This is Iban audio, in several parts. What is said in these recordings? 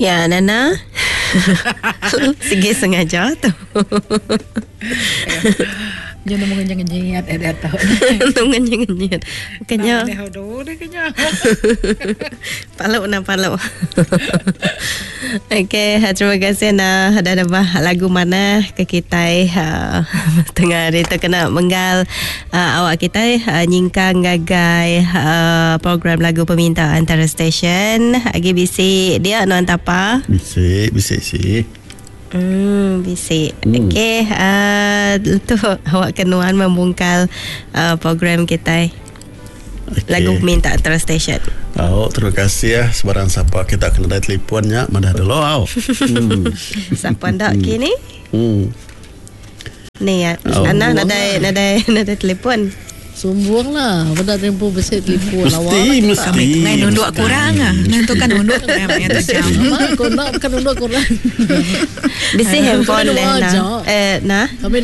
Ya Nana. Sigi sengaja tu. Nya nemu ngenyit eh diatu. Nemu ngenyit. Kenya. Palu na palu. Okey, terima kasih na dah nebah lagu manah ke kitai uh, tengah hari tu kena menggal uh, awak kitai uh, nyingkang ngagai uh, program lagu peminta antara stesen. Agi bisi dia nuan tapa? Bisi, bisi si. Hmm, bisi. Hmm. Okey, uh, tu awak ke nuan membungkal uh, program kitai. Okay. Lagu peminta antara stesen. Oh, terima kasih ya. Sebarang siapa kita kena dari telefonnya, madah dulu au. Hmm. Siapa ndak hmm. kini? Hmm. Ni ya. Oh. Ana nadai nadai nadai telefon. Sumbung lah. Benda tempoh besi telefon lah. Mesti, mesti. Kami ngai nunduk kurang ah. Ngai tu kan nunduk kurang ya tu jam. Kau nak bukan nunduk kurang. Bisi handphone leh nah. Eh nah. Kami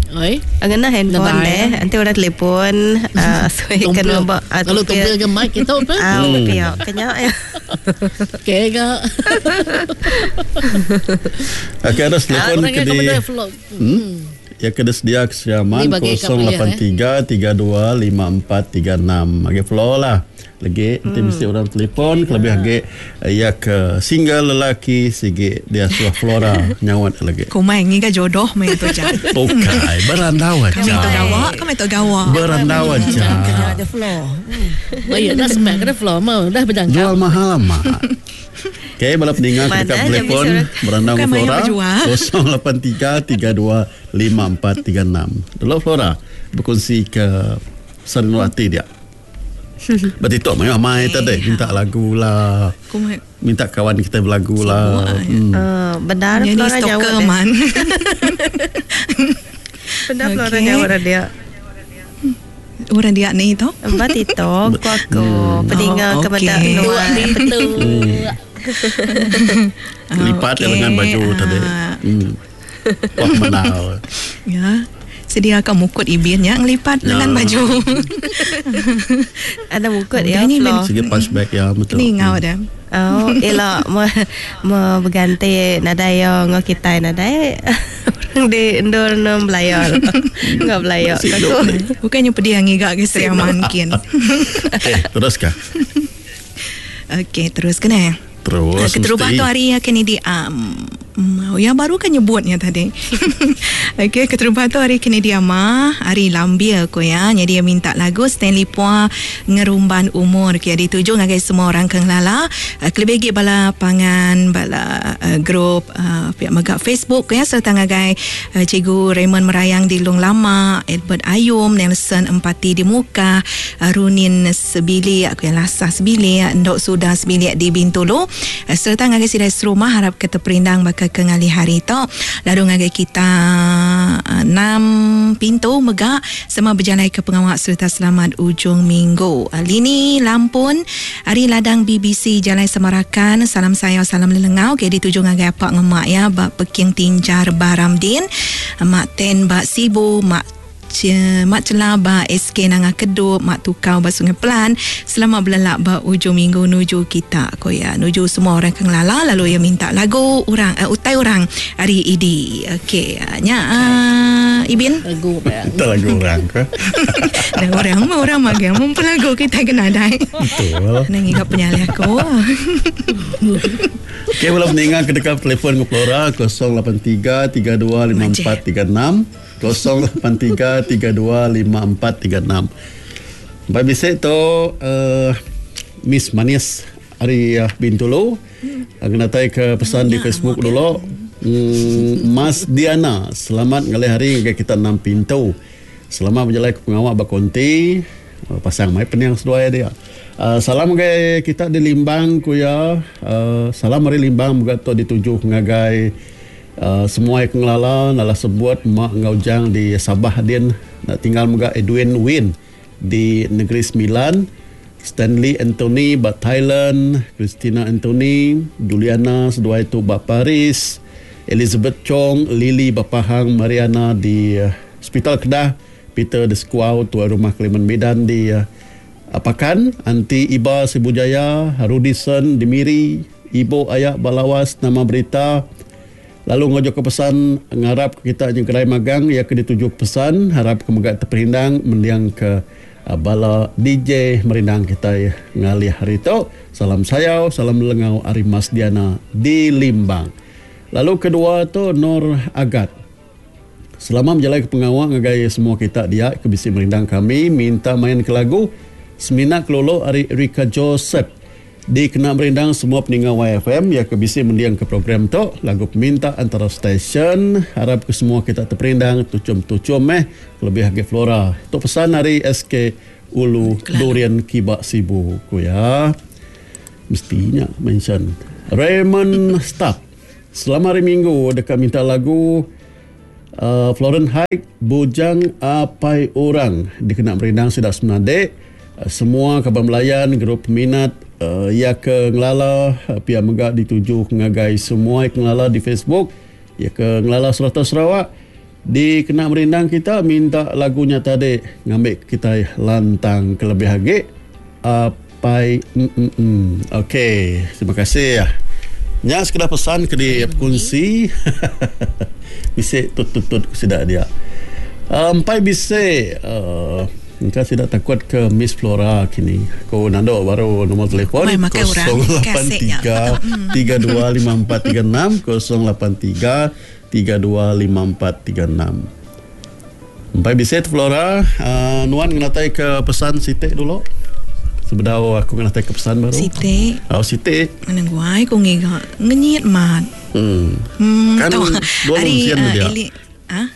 Oi. Ngena handphone deh. Nanti orang telefon uh, so kena ba kalau tumpil ke mic kita apa? Ah, pia kenya ya. Okey ga. Okey ada telefon ke di. Hmm. Ya ke sedia ke Siaman 083 32 54 36. Agi flow lah. Lagi nanti mesti orang telefon kelebih agi ya ke single lelaki sigi dia suah Flora nyawat lagi. Kumai ngiga jodoh mai tu ja. Bukai berandau aja. Kami tu gawa, kami tu gawa. Berandau aja. Kena ada flow. Baik dah semak kena flow mau dah berjangka. Jual mahal amat. Okey, bala pendengar Mana kita jam telefon bisa berandau Bukan dengan main Flora berjual. 083 32 54 36. Dulu Flora berkongsi ke senul hati dia. Berarti tok mai mai tadi minta lagu lah. Kumai. Minta kawan kita berlagu lah. Hmm. Benar Ni Flora stalker jawab. man. Benar Flora Okey. jawab dia. Orang dia ni tu. Empat itu ku aku pendengar Oh, kepada okey. nuan. Itu. Lipat Okey, lengan baju tadi. ah. Hmm. Wah menau. Ya. Sediakan mukut ibinnya ngelipat Ya. lengan baju. Ada mukut ya Ini Flo. Segi punchback ya betul. Ni ngau dah. Oh, elok mo mo berganti nadai yo ngo kita nadai orang di endur nom belayar. Enggak belayar. Masih Aku. hidup ni. Bukannya pedih ngigak ke siaman kin. Okey, teruskah? Okey, terus kena. Terus. Keterubah mesti. tu hari ya kini di ya baru kan nyebutnya tadi. Okey, keterubah tu hari kini dia mah, hari lambia ko ya. Jadi dia minta lagu Stanley Pua Ngerumban Umur ke dituju ngagai semua orang ke ngelala. Kelebih lagi bala pangan bala uh, grup uh, pihak megak Facebook ya serta ngagai uh, Cikgu Raymond Merayang di Long Lama, Albert Ayum, Nelson Empati di Muka, uh, Runin Sebilik, aku yang lasah sebilik, Ndok Sudah sebilik di Bintulu. Serta ngagai sidai serumah harap ke terperindang bakal ke ngali hari tu. Lalu ngagai kita enam pintu megak semua berjalan ke pengawal serta selamat ujung minggu. Lini Lampun, hari ladang BBC Jalan Semarakan, salam saya salam lelengau ke dituju ngagai apak ngemak ya bak Peking Tinjar Baramdin, Mak Ten bak Sibu, Mak Mak Celah ba SK Nanga Kedup, Mak Tukau ba Sungai Pelan. Selamat berlelak ba ujung minggu nuju kita ko ya. Nuju semua orang ke ngelala lalu ya minta lagu orang utai orang hari idi. Okey, nya Ibin. Lagu apa ya? Minta lagu orang ke? Dan orang mah orang magang mumpu lagu kita kena dai. Betul. Nang ingat penyalih aku. Okey, belum meninggal ke dekat telefon ke Flora 083 32 54 36 083 32 54 36. Baik bisik tu uh, Miss Manis hari uh, Bintulu. Kena tai ke pesan di Facebook dulu. Mas Diana, selamat ngalih hari ke kita enam pintu. Selamat berjalan ke pengawak bakonti. Pasang mai peniang seduai dia. Salam ke kita di Limbang kuya. Salam hari Limbang buka tu dituju ngagai semua yang ngelala nala sebut mak ngau jang di Sabah din nak tinggal muga Edwin Win di Negeri Sembilan, Stanley Anthony ba Thailand, Christina Anthony, Juliana seduai tu ba Paris, Elizabeth Chong, Lily ba Pahang, Mariana di Hospital Kedah, Peter de Squaw tuan rumah Keliman Medan di Apakan, Anti Iba Sibujaya, Rudison di Miri, Ibu aya ba Lawas nama berita lalu enggau jaku pesan ngarap ke kita nyegerai magang iya ke dituju ke pesan harap ke mega teperindang mending ke bala DJ merindang kitai ngalih hari tu. Salam sayau salam lelengau ari Mas Diana di Limbang. Lalu kedua tu Nor Agat. Selama bejalai ke pengawa ngagai semua kita dia ke bisi merindang kami minta main ke lagu Semina Kelulu ari Erica Joseph. Dikena merindang semua peninga YFM iya ke bisi mending ke program tu, lagu peminta antara stesen, arap ke semua kita teperindang tuchum-tuchum meh kelebih agi Flora. Tu pesan ari SK Ulu Durian Kiba Sibu, ku iya. Mesti nya mention. Raymond Stap, selama hari minggu deka minta lagu uh, Florence Haik Bujang Apai Orang dikena merindang sida semenadik. Semua kaban belayan, gerup peminat iya ke ngelala pia mega dituju ngagai semua iya ke ngelala di Facebook, iya ke ngelala serata Sarawak dikena merindang kita minta lagu nya tadi ngambi kitai lantang kelebih agi apai emm. Ok terima kasih. Nya sekeda pesan ke dikunsi bisi tut tut tut sida dia. Empai bisi engka sida takut ke Miss Flora kini. Ku nando baru nombor telefon 083 325436 083 325436. Empai bisi tu Flora nuan ngenatai ke pesan siti dulu sebedau aku ngenatai ke pesan baru. Siti. Oh siti. Ngena guai ku ngiga ngenyit mat. Hmm. Kan dua lungsian dia. Ah.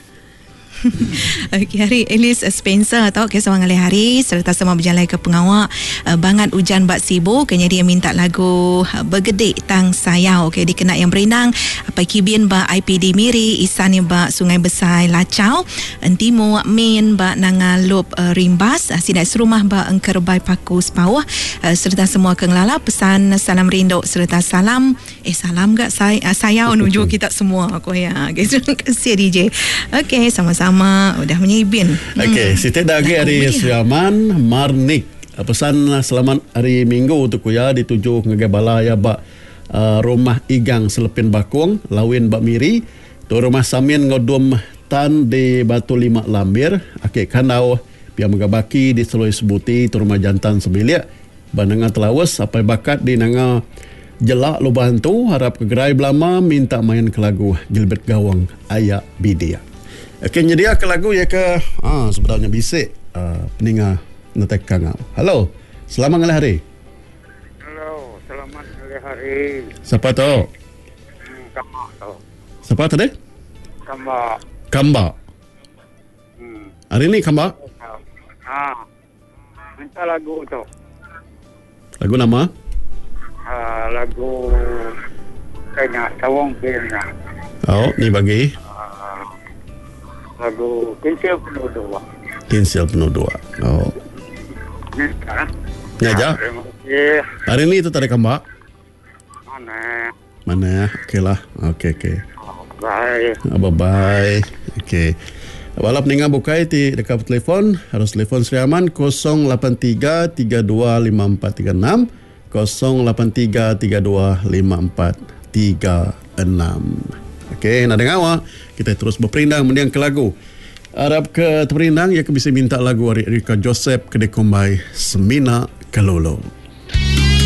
Okey hari Alice Spencer tau ke sama ngalih hari serta sama berjalai ke pengawa uh, bangat ujan ba Sibu ke nyadi minta lagu uh, Begedik Tang Sayau okey dikena yang berindang apai Kibin ba IPD Miri Isan ba Sungai Besai Lachau Entimu Min ba Nanga Lup uh, Rimbas uh, sida serumah ba Engkerbai Paku Sepauh uh, serta semua ke ngelala pesan salam rindu serta salam Eh salam ga say, uh, sayau nuju kita semua aku ya. Okay, terima kasih DJ. Okey, sama-sama udah menyibin. Okey, hmm. siti dah agi hari Sriaman Marnik. Pesan selamat hari Minggu tu ku ya dituju ngagai bala ya ba uh, rumah Igang Selepin Bakung, Lawin ba Miri, tu rumah Samin enggau Dum Tan di Batu Lima Lambir, Aki Kandau pia mega baki di Seloi Sebuti tu rumah Jantan Sebilik. Ba Nanga Telaus apai bakat di Nanga Jelak Lubah Antu arap ke gerai belama minta main ke lagu Gilbert Gawang Aya Bidik. Okey nyedia ke lagu iya ke aa sebedau nya bisi aa peninga netai kangau. Hello. Selamat ngalih hari. Hello, selamat ngalih hari. Sapa tu? Hmm, kamba tu. Sapa tadi? Kamba. Kamba. Hmm. Hari ni kamba? Ha. Minta lagu tu. Lagu nama? Uh, lagu kena tawang pina. Oh, ni bagi. Uh, lagu Kinsil Penuh Dua. Kinsil Penuh Dua. Oh. Ni Ni aja. Terima kasih. Hari ni tu tadi kambak. Mana? Mana? Okey lah. Okey okey. Bye. Bye bye. Okey. Bala peninga bukai ti deka betelefon harus telefon Sri Aman 083 32 5436 083 32 5436. Okey, nak dengar awak? Kita terus berperindang mendiang ke lagu. Arap ke terperindang ya ke bisa minta lagu ari Erika Joseph ke dikumbai Semina Kelulu.